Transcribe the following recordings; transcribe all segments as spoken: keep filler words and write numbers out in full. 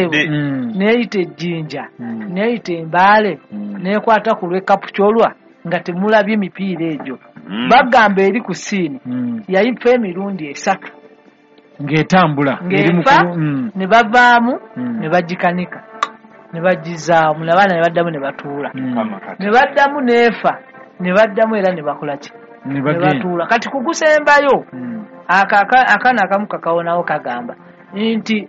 Mm. Neyita ejjinja, Mm. neyita embaale, Mm. nekwata ku lw'ekapukyolwa nga temulabye emipiira egyo. Mm. Bagamba eri ku siini Mm. yayifa emirundi esatu ng'etambula eri mu ng'efa ku- mm. ne bavaamu Mm. ne bagikanika ne bagizaamu n'abaana ne baddamu ne batuula Mm. Mukama kati. ne baddamu n'efa ne baddamu era ne bakola ki ne ne bagenda batuula. Kati kugusembayo Mm. aka aka- akaana akamu kakawonawo kagamba nti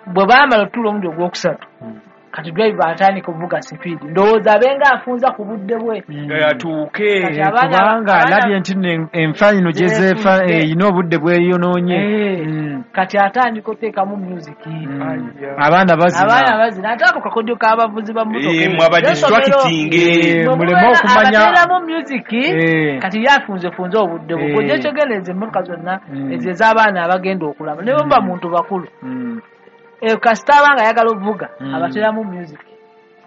bwe baamala otuula omulundi ogwokusatu Mm. kati driver atandika okuvuga sipiidi, ndowooza abenga afunza ku budde bwe. Mm. Atuuke. Kati abaana- kubanga abaana- alabye nti nno enfa ino gyezeefa Zeefudde. erina obudde bweyonoonye. Eh. Mm. Kati atandika oteekamu music, Mm. Aya. Abaana bazina. Abaana bazina ate ako kakodyo k'abavuzi ba mmotoka. Eh, mwe aba distracting. Eh, muleme okumanya abateeramu music. Eh. Kati ye afunzefunze obudde bwe. Eh. Kojja kyegendereza emmotoka zonna Mm. ezo ez'abaana abagenda okulaba ne bwe muba Mm. muntu bakulu. Mm. Eh, kasita aba nga ayagala ovuga Mm. abateeramu music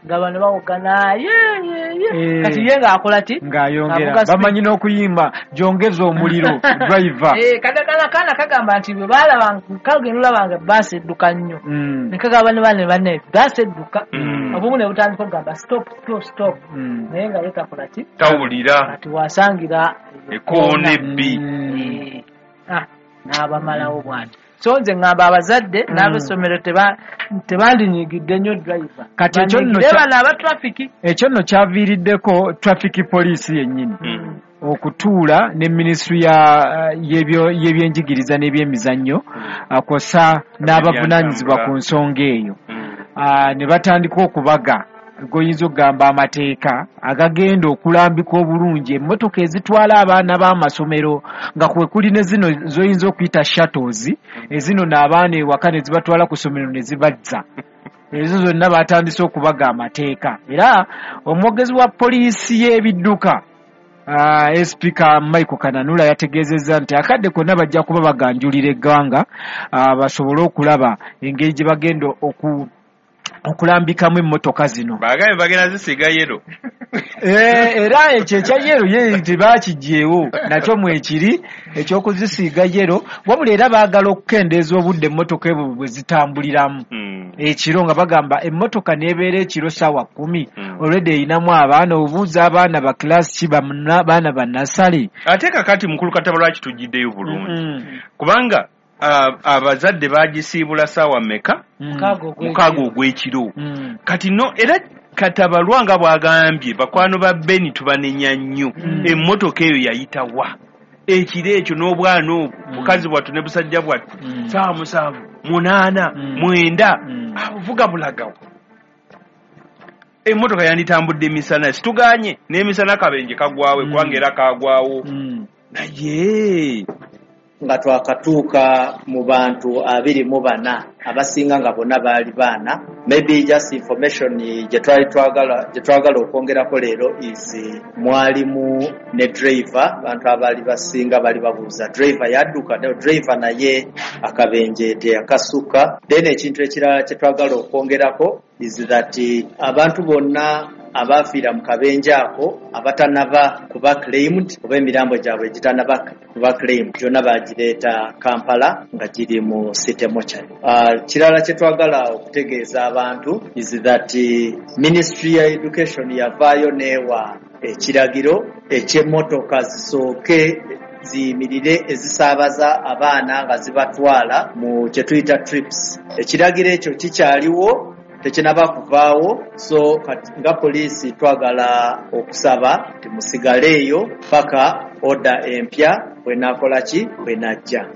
nga bano bawogana ye ye ye. Eh. Kati ye ng'akola ki? Ng'ayongera. Avuga speed. Bamanyi n'okuyimba gyongeza omuliro driver. Eh, kati akana kaana kagamba nti bwe baalaba kagenda olaba nga baasi edduka nnyo Mm. ne kagamba ne bane banne baasi edduka, Mm. obumu ne butandika okugamba stop, stop, stop, Mm. naye nga ye takola ki? Tawulira. Kati wasangira Ekoona ebbi. Mm. Eh, ah, n'abamalawo bw'ati. So nze ŋŋamba abazadde Mm. n'ab'essomero teba- tebandinyigidde nnyo driver. Kati ekyo nno Banyigire kya- bano aba traffic. Ekyo nno kyaviiriddeko traffic police yennyini Mm. okutuula ne minisitule ya y'ebyo- y'ebyenjigiriza n'ebyemizannyo kw'ossa n'abavunaanyizibwa ku nsonga eyo. Mm. Ah, ne batandika okubaga goyinza okugamba amateeka agagenda okulambika obulungi emmotoka ezitwala abaana b'amasomero nga kwe kuli ne zino z'oyinza okuyita shuttles ezino n'abaana ewaka ne zibatwala ku ssomero ne zibazza. Ezo zonna batandise okubaga amateeka era omwogezi wa poliisi y'ebidduka Uh, S P ka Michael Kananula yategeezezza nti akadde konna bajja kuba baganjulira eggwanga uh, basobole okulaba engeri gye bagenda oku okulambikamu emmotoka zino. Bagambye bagenda zisiiga yellow. Eh, era ekyo ekya yellow ye tebakiggyeewo nakyo mwekiri ekyokuzisiiga yellow, wabula era baagala okukendeeza obudde emmotoka ebwo bwe zitambuliramu Mm. ekiro nga bagamba emmotoka n'ebeera ekiro ssaawa kkumi Mm. olwedde erinamu abaana obuuza abaana ba kilasi ki bamuna- baana bannasale. Ate kakati mukulu Kataba lwaki tugiddeyo bulungi? Mm. Kubanga ah, abazadde bagisiibula ssaawa mmeka? Mm. Mukaaga ogw'ekiro. Mukaaga ogw'ekiro. Mm. Kati no era Katabalwa nga bw'agambye bakwano ba Beni tubanenya nnyo. Mm. Emmotoka eyo yayitawa ekiro ekyo n'obwana obwo Mm. bukazi bwattu ne busajja bwattu Mm. saawa musanvu munaana Mm. mwenda Mm. abuvuga bulagawo? Emmotoka yanditambudde emisana, situganye n'emisana kabenje kagwawe Mm. kubanga era kagwawo Mm. naye nga twakatuuka mu bantu abiri mu bana abasinga nga bonna baali baana. Maybe just information gye twali twagala gye twagala okwongerako leero is mwalimu ne driver. Abantu abaali basinga bali babuuza driver yadduka? No, driver naye akabenje teyakasuka. Then ekintu ekirala kye twagala okwongerako is that abantu bonna abaafiira mu kabenje ako abatanaba kuba claimed oba emirambo gyabwe egitanaba kuba claimed gyonna bagireeta Kampala nga giri mu city mortuary. Uh, kirala kye twagala okutegeeza abantu is that ministry ya education yavaayo neewa ekiragiro eky'emmotoka zisooke ziyimirire ezisaabaza abaana nga zibatwala mu kye tuyita trips. Ekiragiro ekyo kikyaliwo, tekinaba kuvaawo. So kati nga poliisi twagala okusaba timusigaleeyo paka order empya bwenakola ki bwenajja.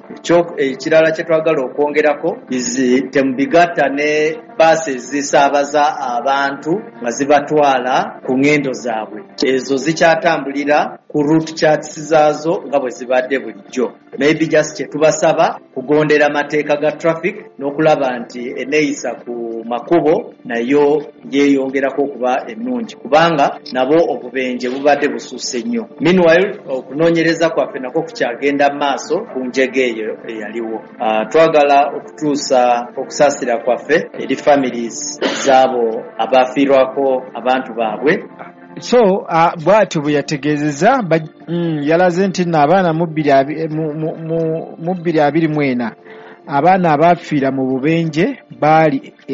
Ekirala kye twagala okwongerako is temubigatta ne baasi ezisaabaza abantu nga zibatwala ku ŋŋendo zaabwe. Ezo zikyatambulira ku route charts zaazo nga bwe zibadde bulijjo. Maybe just kye tubasaba kugondera amateeka ga traffic n'okulaba nti enneeyisa ku makubo nayo yeeyongerako okuba ennungi kubanga nabo obubenje bubadde bususse nnyo. Meanwhile, okunoonyereza kwaffe nakwo kukyagenda mu maaso ku njega eyo eyaliwo. Uh, twagala okutuusa okusaasira kwaffe eri families z'abo abafiirwako abantu baabwe. So uh, bw'atyo bwe yategeezezza mm, yalaze nti nno abaana mu bbiri mu bbiri abiri mu ena Abaana abaafiira mu bubenje baali